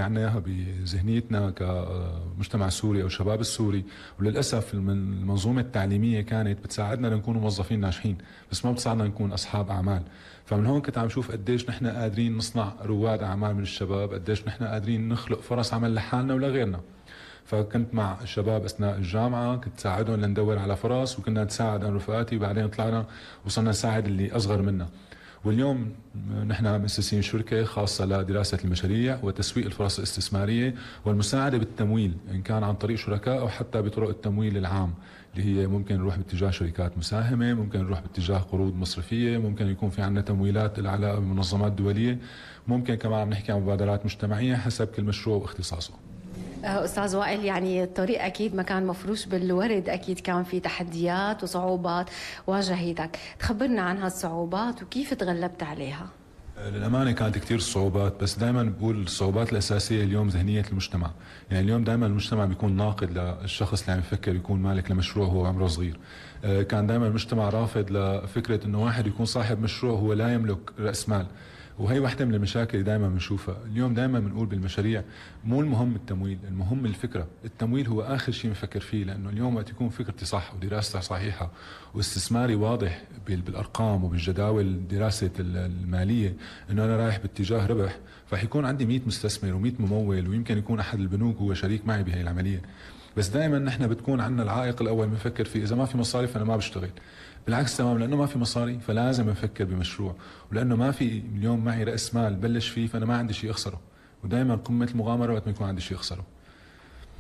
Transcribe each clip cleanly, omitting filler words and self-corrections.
عنا اياها بذهنيتنا كمجتمع سوري او شباب السوري، وللاسف المنظومه التعليميه كانت بتساعدنا لنكون موظفين ناجحين، بس ما بتساعدنا نكون اصحاب اعمال. فمن هون كنت عم شوف قديش نحن قادرين نصنع رواد اعمال من الشباب، قديش نحن قادرين نخلق فرص عمل لحالنا ولغيرنا. فكنت مع الشباب اثناء الجامعه، كنت ساعدهم لندور على فرص، وكنا نساعد انا رفقاتي، وبعدين طلعنا وصلنا نساعد اللي اصغر منا. واليوم نحن مؤسسين شركة خاصة لدراسة المشاريع وتسويق الفرص الاستثمارية والمساعدة بالتمويل، إن كان عن طريق شركاء أو حتى بطرق التمويل العام، اللي هي ممكن نروح باتجاه شركات مساهمة، ممكن نروح باتجاه قروض مصرفية، ممكن يكون في عندنا تمويلات العلاقة بمنظمات دولية، ممكن كمان عم نحكي عن مبادرات مجتمعية حسب كل مشروع واختصاصه. أستاذ وائل، يعني الطريق أكيد ما كان مفروش بالورد، أكيد كان في تحديات وصعوبات واجهتك، تخبرنا عن هالصعوبات وكيف تغلبت عليها؟ للأمانة كانت كتير صعوبات، بس دائما بقول الصعوبات الأساسية اليوم ذهنية المجتمع. يعني اليوم دائما المجتمع بيكون ناقد للشخص اللي عم يفكر يكون مالك لمشروع هو عمره صغير. كان دائما المجتمع رافض لفكرة انه واحد يكون صاحب مشروع هو لا يملك رأس مال، وهي واحدة من المشاكل اللي دائما بنشوفها. اليوم دائما بنقول بالمشاريع مو المهم التمويل، المهم الفكرة. التمويل هو آخر شيء بنفكر فيه، لأنه اليوم وقت يكون فكرتي صح ودراستها صحيحة واستثماري واضح بالأرقام وبالجداول دراسة المالية إنه أنا رايح باتجاه ربح، فحيكون عندي 100 مستثمر و100 ممول، ويمكن يكون أحد البنوك هو شريك معي بهي العملية. بس دائما نحن بتكون عندنا العائق الأول بنفكر فيه، إذا ما في مصاري فأنا ما بشتغل. بالعكس تمام، لانه ما في مصاري فلازم افكر بمشروع، ولانه ما في اليوم معي راس مال بلش فيه فانا ما عندي شيء اخسره. ودائما قمه المغامره وقت ما يكون عندي شيء اخسره.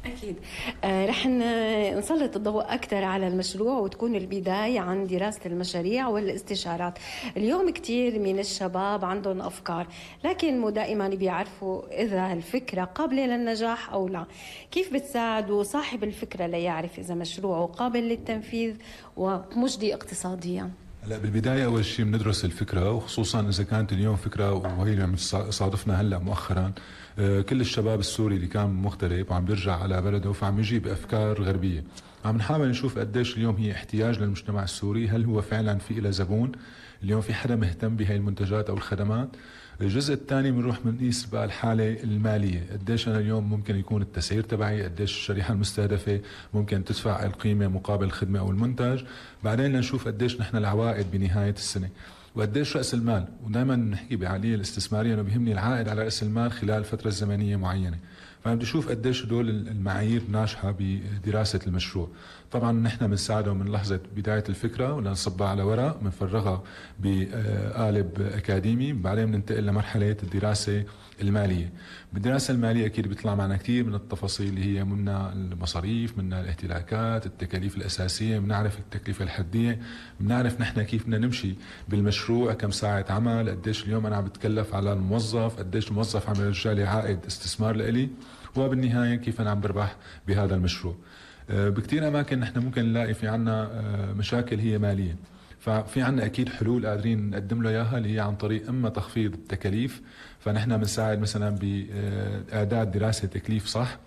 أكيد. رح نسلط الضوء أكثر على المشروع، وتكون البداية عن دراسة المشاريع والاستشارات. اليوم كتير من الشباب عندهم أفكار، لكن مو دائما بيعرفوا إذا الفكرة قابلة للنجاح أو لا. كيف بتساعدوا صاحب الفكرة ليعرف إذا مشروعه قابل للتنفيذ ومجدي اقتصاديا؟ هلا بالبدايه اول شيء بندرس الفكره، وخصوصا اذا كانت اليوم فكره، وهي اللي عم تصادفنا هلا مؤخرا. كل الشباب السوري اللي كان مغترب وعم بيرجع على بلده فعم يجي بافكار غربيه. عم نحاول نشوف قديش اليوم هي احتياج للمجتمع السوري، هل هو فعلا في له زبون؟ اليوم في حدا مهتم بهي المنتجات او الخدمات؟ الجزء الثاني بنروح بنقيس بقى الحاله الماليه، قديش انا اليوم ممكن يكون التسعير تبعي، قديش الشريحه المستهدفه ممكن تدفع القيمه مقابل الخدمه او المنتج. بعدين لنشوف قديش نحن العوائد بنهايه السنه، وقديش راس المال. ودائما نحكي بعمليه الاستثماريه انه بيهمني العائد على راس المال خلال فتره زمنيه معينه. فانا بدي اشوف قديش هدول المعايير ناجحه بدراسه المشروع. طبعا نحن بنساعده من لحظه بدايه الفكره ولنصبها على ورق، بنفرغها بقالب اكاديمي، بعدين بننتقل لمرحله الدراسه الماليه. بالدراسه الماليه اكيد بيطلع معنا كثير من التفاصيل اللي هي منها المصاريف، منها الاهتلاكات، التكاليف الاساسيه، بنعرف التكلفه الحديه، بنعرف نحن كيف بدنا نمشي بالمشروع، كم ساعه عمل، قديش اليوم انا عم بتكلف على الموظف، قديش الموظف عم يرجع لي عائد استثمار لإلي، وبالنهايه كيف انا عم بربح بهذا المشروع. بكثير اماكن نحن ممكن نلاقي في عنا مشاكل هي ماليه، ففي عنا اكيد حلول قادرين نقدم له اياها، اللي هي عن طريق اما تخفيض التكاليف، فنحن بنساعد مثلا باعداد دراسه تكليف صح،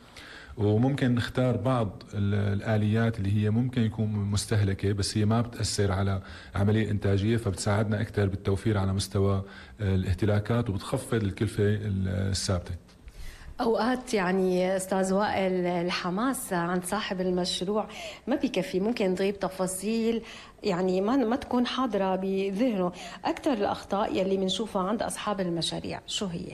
وممكن نختار بعض الآليات اللي هي ممكن يكون مستهلكة بس هي ما بتأثر على عملية إنتاجية، فبتساعدنا أكثر بالتوفير على مستوى الاهتلاكات وبتخفض الكلفة الثابتة. أوقات يعني أستاذ وائل الحماس عند صاحب المشروع ما بيكفي، ممكن تغيب تفاصيل يعني ما تكون حاضرة بذهنه. أكثر الأخطاء يلي بنشوفها عند أصحاب المشاريع شو هي؟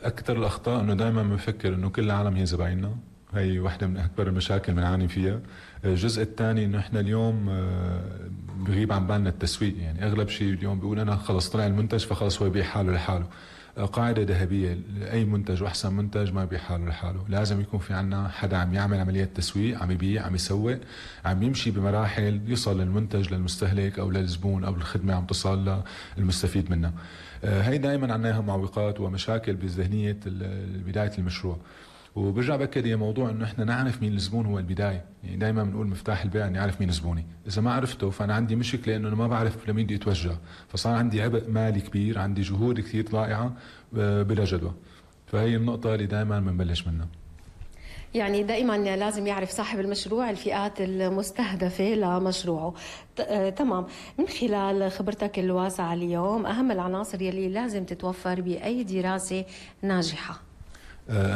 أكثر الأخطاء إنه دائما بنفكر إنه كل العالم هي زبايننا، هي واحدة من أكبر المشاكل بنعاني فيها. الجزء الثاني إنه إحنا اليوم بغيب عن بالنا التسويق، يعني أغلب شيء اليوم بيقول أنا خلص طلع المنتج فخلص هو يبيع حاله لحاله. قاعدة ذهبية، أي منتج وأحسن منتج ما يبيع حاله لحاله، لازم يكون في عنا حدا عم يعمل عملية تسويق، عم يبيع، عم يسوق، عم يمشي بمراحل يوصل للمنتج للمستهلك أو للزبون أو الخدمة عم تصل للمستفيد منها. هي دائما عندنا معوقات ومشاكل بذهنية بداية المشروع. وبرجع بأكد هي موضوع انه احنا نعرف مين الزبون هو البدايه، يعني دائما بنقول مفتاح البيع اني اعرف مين زبوني، اذا ما عرفته فانا عندي مشكله انه انا ما بعرف لمين بدي اتوجه، فصار عندي عبء مالي كبير، عندي جهود كثير ضائعه بلا جدوى. فهي النقطه اللي دائما بنبلش منها. يعني دائما لازم يعرف صاحب المشروع الفئات المستهدفة لمشروعه. تمام. من خلال خبرتك الواسعة اليوم، أهم العناصر يلي لازم تتوفر بأي دراسة ناجحة؟